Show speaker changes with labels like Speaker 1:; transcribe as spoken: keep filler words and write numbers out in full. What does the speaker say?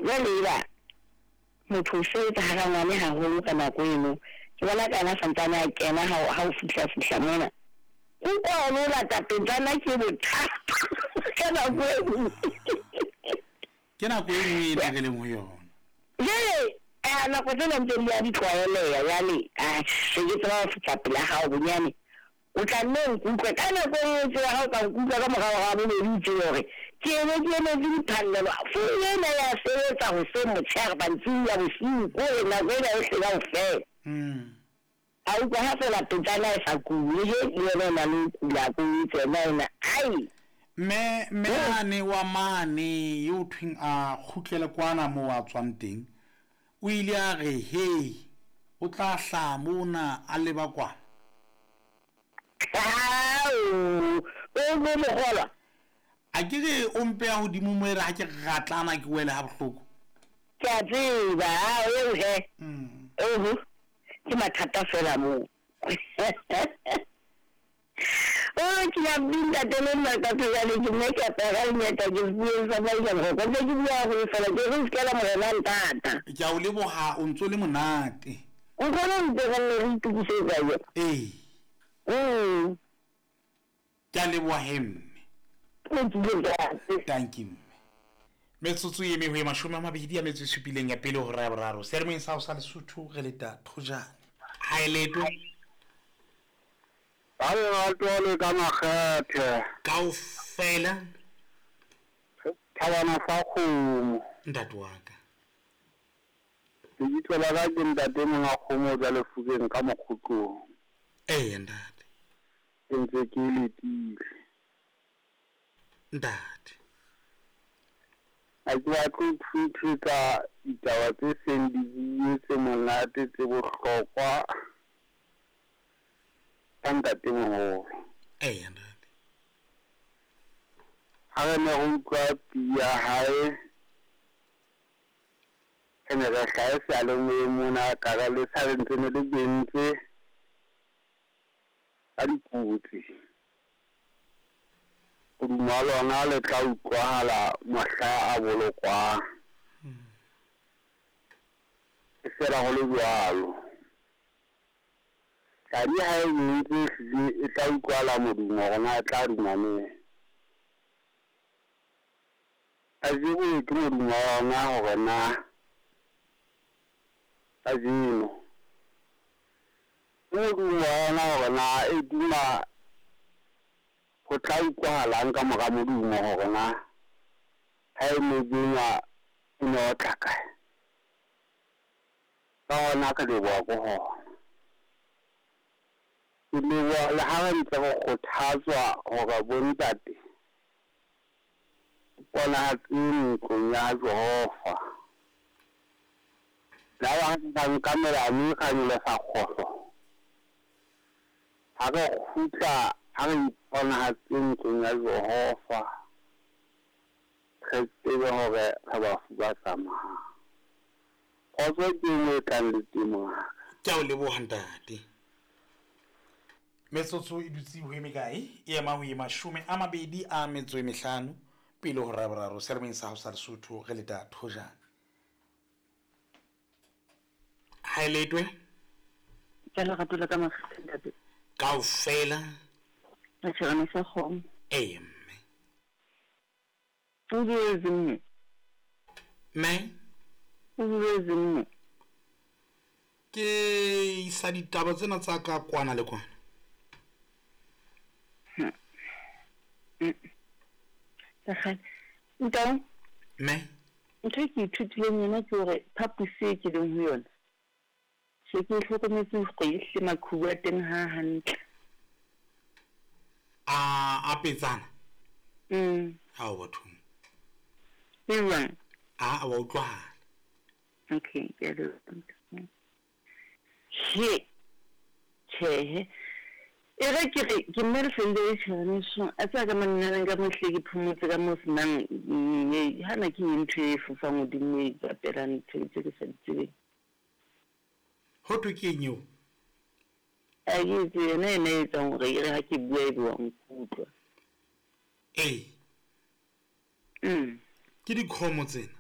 Speaker 1: Jwale eba motho o sebetsa ha rangwane haholo ka nako eno. Ke bona ka yena santsane a kena ha o ha o fihla fihla mona. Utlwa o lo lata petsana ke bothata ka nako e nngwe.
Speaker 2: Ke nako e nngwe ena re leng ho yona.
Speaker 1: Jwale a nako tsena ntse di ya di tlwaeleha jwale a se ke tseba ho fihla pela hao bonyane. O tla nne o nkutlwe ka nako e nngwe tsela ha o ka nkutlwa ka morao ga bobedi o tsebe hore ke ene ke emetse diphallelo. Founu ena ya sebetsa hoseng motshehare mantsibuya bosiu kore nako ena yohle kaofela.
Speaker 2: Mm.
Speaker 1: A utlwa ha fela petsana e sa kule he le yena o na le ho kula ko etse yena ena ai.
Speaker 2: Mme mme ane wa mane yo thweng a kgutlele kwana moo a tswang teng, o ile a re he o tla hlaha mona a leba kwana.
Speaker 1: Ao, o mo mokgolwa.
Speaker 2: A ke re o mpeya hodimo mo e re ha ke ratlana ke wele ha bohloko.
Speaker 1: Ke a tseba, ao eo he.
Speaker 2: Mm.
Speaker 1: Oho, ke mathata fela moo. O ke ya binta tele nna ka tsejane ke nne ke apara lenyata ke bue sa maisa mokgwa ntse ke bua haholo fela ke re se ka la morena ntata.
Speaker 2: Ke a o leboha o ntso le monate.
Speaker 1: Nkgono ntse re nne re itokisetsa yo.
Speaker 2: Ee.
Speaker 1: Mm.
Speaker 2: Ke a leboha he mme.
Speaker 1: Ke tsile ntate.
Speaker 2: Thank you mme. Metsotso e mehwe mashome a mabedi a metso e supileng ya pele hora ya boraro. Seyalemoyeng sa hao sa Lesotho re leta Thojane. Ha e letwe.
Speaker 3: Ba lerato le ka makgethe.
Speaker 2: Kaofela.
Speaker 3: Thabana sa kgomo.
Speaker 2: Ntate wa ka.
Speaker 3: Lebitso la ka ke ntate monga kgomo ja lefukeng ka mokgotlong.
Speaker 2: Ee ntate.
Speaker 3: Ke ntse ke letile.
Speaker 2: Ntate.
Speaker 3: Ha ke batle ho thuthuka ditaba tse seng di buile tse monate tse bohlokwa ka ntatemoholo.
Speaker 2: Ee ntate.
Speaker 3: Ha re ne re utlwa pina ya hae, re ne re hlahe seyalemoyeng mona ka re le sa re ntse ne le bentse ka dikotsi. Modumo wa lona le tla utlwahala mohla a bolokwang. E fela ho le jwalo. Tladi ha e bentse ehlile e tla utlwahala modumo hore na e tla duma neng. Kajeno ke modumo wa yona hore na kajeno ke modumo wa yona hore na e duma ho tla utlwahalang ka mora modumo hore na ha e ne bengwa e ne otla kae. Ka hona re leboha ko hona. Ke leboha le ha re ntse re kgothatswa hore bontate ponahatse ntlong ya Jehova. La ba ba nka melane ra nyolosa kgohlo. Ha re kgutla ha re iponahatse ntlong ya Jehova, re tsebe hore re bafu ba tsamayang. Kgotso ke engwe e tlang le temo ya ka.
Speaker 2: Ke a o leboha ntate. Metsotso e dutse ho e mekae? E ema ho e mashome a mabedi a metso e mehlano pele hora ya boraro. Seyalemoyeng sa hao sa Lesotho re leta Thojane. Ha e letwe.
Speaker 4: Ke lerato la ka makgethe ntate.
Speaker 2: Kaofela.
Speaker 4: Tjherane sa kgomo.
Speaker 2: Ee mme.
Speaker 4: O boletse mme.
Speaker 2: Mme?
Speaker 4: O boletse mme.
Speaker 2: Ke isa ditaba tsena tsa ka kwana le kwana.
Speaker 4: Ntao?
Speaker 2: Mme?
Speaker 4: Ntho e ke ithutileng yona ke hore phaposi e ke leng ho yona, se ke hlokometse hore ehlile maqhubu a teng ha hantle.
Speaker 2: A a petsana?
Speaker 4: Mm.
Speaker 2: Hao bathong.
Speaker 4: E jwang?
Speaker 2: A wa utlwahala.
Speaker 4: Okay, ke a leboha. He. Tjhehe. E re ke re ke mme le le tjhereneso a tsaya ka manna ka mohle ke phomotse ka mo senang hana ke ntho e fofang hodimo e bapela ntho tse ke sa di tsebeng.
Speaker 2: Ho thwe ke eng eo?
Speaker 4: A ke itse yona ena e etsang hore e re ha ke bua ebe wa nkutlwa.
Speaker 2: Ee.
Speaker 4: Mm.
Speaker 2: Ke dikgomo tsena.